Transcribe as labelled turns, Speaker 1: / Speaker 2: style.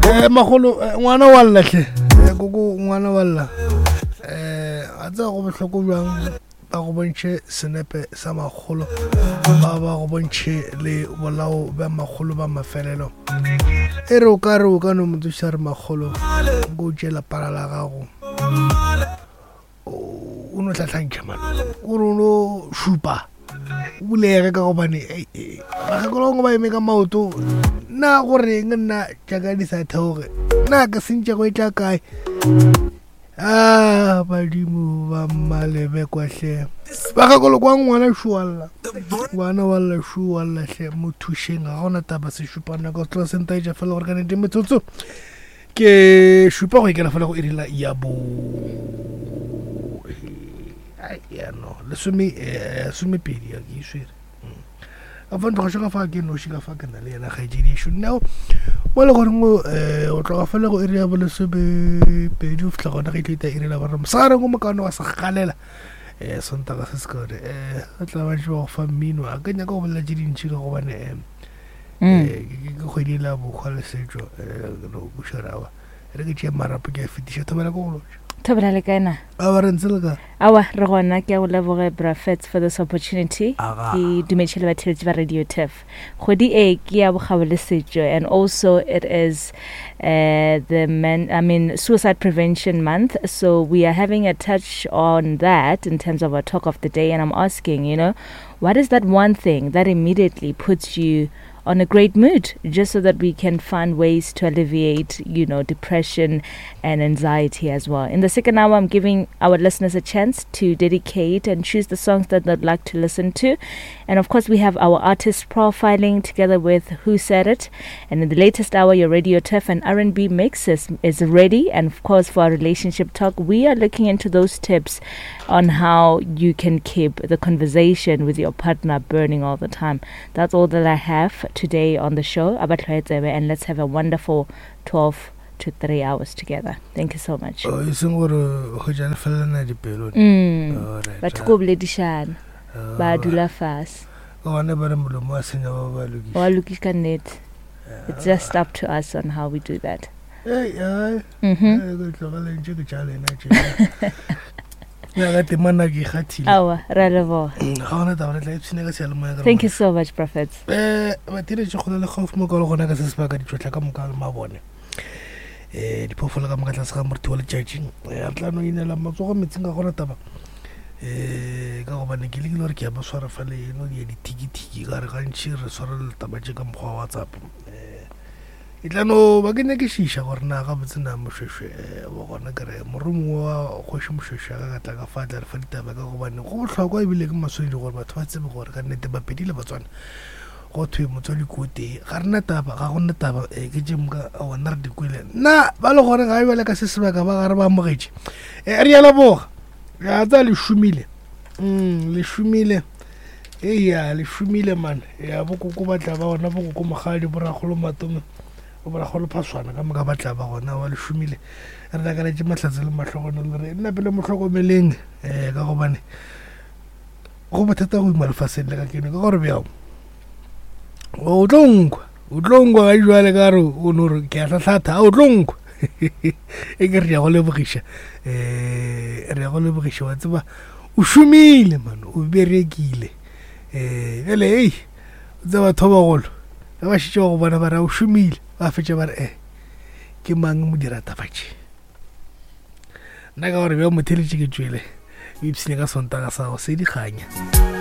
Speaker 1: Eh, magolo eh, ngwana wa lla hle eh, koko ngwana wa lla eh a tseba go bohloko bjang ba go bontšhe senepe sa makgolo ba ba go bontšhe le bolao bja makgolo ba mafelelo e re o ka re o ka no mo tsoša re makgolo nko o tšee lapara la gago o no hlahlantšha man o re o no šupa o bulege ka gobane bakgekolo bangwe ba eme ka maoto nna goreng nna jaaka di sa theoge nna ke sentše go e tla kae a badimo ba mmalebekwa hle bakgekolo kwa ngwana šualla ngwana wa lla šualla hle mo thušeng ga gona taba se šupana ka tloa sentaetša fela gore ka nete metsotso ke šupa go ikela fela go irila ya bo ya no lesome eh, somepedi ya ke iswere mm. ka fa ntloga ka fa ke noši ka fa ke na le yena kgaetšedišo nao mo le goreng um eh, o tloga fela go iri ya bolesomepedi o fitlha gona ge e tlo ita iri la boraro mosegareng o mokaone wa segalela um eh, sontaga se se kaone um tla ba ba go fa mmino a ke nyaka go bolela tše dintšhi ka gobane um mm. eh, ke kgwedi la bokgwa le setšo eh, no bušarawa re ke tšee marapo ke a fetiša thobela ko go lotša
Speaker 2: thobela le kae na
Speaker 1: awa re ntse le ka
Speaker 2: awa re gona ke a go leboge brafets for this opportunity ke dumetše le batheletši ba radio tef kgwedi e ke ya bokgabo le setšo and also it is uh, the man i mean suicide prevention month so we are having a touch on that in terms of our talk of the day and i'm asking you know what is that one thing that immediately puts you on a great mood just so that we can find ways to alleviate, you know, depression and anxiety as well. In the second hour, I'm giving our listeners a chance to dedicate and choose the songs that they'd like to listen to. And of course, we have our artist profiling together with Who Said It. And in the latest hour, your Radio Turf and R&B mix is, is ready. And of course, for our relationship talk, we are looking into those tips on how you can keep the conversation with your partner burning all the time. That's all that I have today on the show. And let's have a wonderful 12 to 3 hours together. Thank you so much.
Speaker 1: Oh, e seng gore hwetša le felelana dipelo.
Speaker 2: Mm. Batho ko boledišana.
Speaker 1: Oh.
Speaker 2: Ba dula fase.
Speaker 1: Ka gona ba re molomo wa senya ba ba lokiša.
Speaker 2: Wa lokiša ka nnete. It's just up to us on how we do that.
Speaker 1: Hey, ai.
Speaker 2: Mhm.
Speaker 1: Ke tlogeleng tše ke tša lena tše. Ya ka temana ke ikgathile.
Speaker 2: Aowa, re a leboga.
Speaker 1: Mm, ga gona taba re tla ipshina ka seyalemoya ka
Speaker 2: Thank you so much, Prophets.
Speaker 1: Eh, batheeletši kgole le gaufi mo ka le gona ka se sebaka ditšhotlha ka moka le mabone um diphoofolo ka moka tlase ga moriti wa letšatši eh, re tla no inela matsogo metseng ka gona taba um ka gobane ke lekile gore ke ya ba swara fa le eno di ya dithikithiki ka re gantši re swara letaba tše ka mokgwa wa whatsapp um Ke tla no ba ke nyakišiša gore na gabotse na Mošwešwe eh, wa gona ke re morongwe wa kgoši Mošwešwe a ka ka tla ka fa tla re fa ditaba ka gobane go bohlokwa ebile ke maswanedi gore batho ba tsebe gore ka nnete Bapedi le Batswana go thwe motswadi ko tee ga rena taba ga go nna taba eh, ke tše moka gona re di kwele nna ba le gore ga bjale ka se sebaka ba gare ba amogetše eh, re ya leboga ya tsa le šomile mm, le šomile Eya, le šomile man. Ya bokoko ba tla ba gona, bokoko mogadi, borakgolo matome, borakgolo phaswana ka moka ba tla ba gona, wa le šomile. Re lakaletše mahlatse le mahlogonolo le re nna pele mo hlokomeleng um ka gobane go bothata go ima lefaseng le ka keno ka gore bjao o tlo nkwa o tlo nkwa ga jwale ka re o no re ke a hlahlatha o tlo nkwa e ke re ya go lebogiša um re ya go lebogiša wa tseba o šomile man o berekile um bjale ei o tseba batho ba bagolo ge ba šetše ba go bona ba re o šomile ba fetša ba re e ke mang modirataba tše nna ka gore bja motheletše ke tšwele o ipshine ka sontaga sa go se dikganya.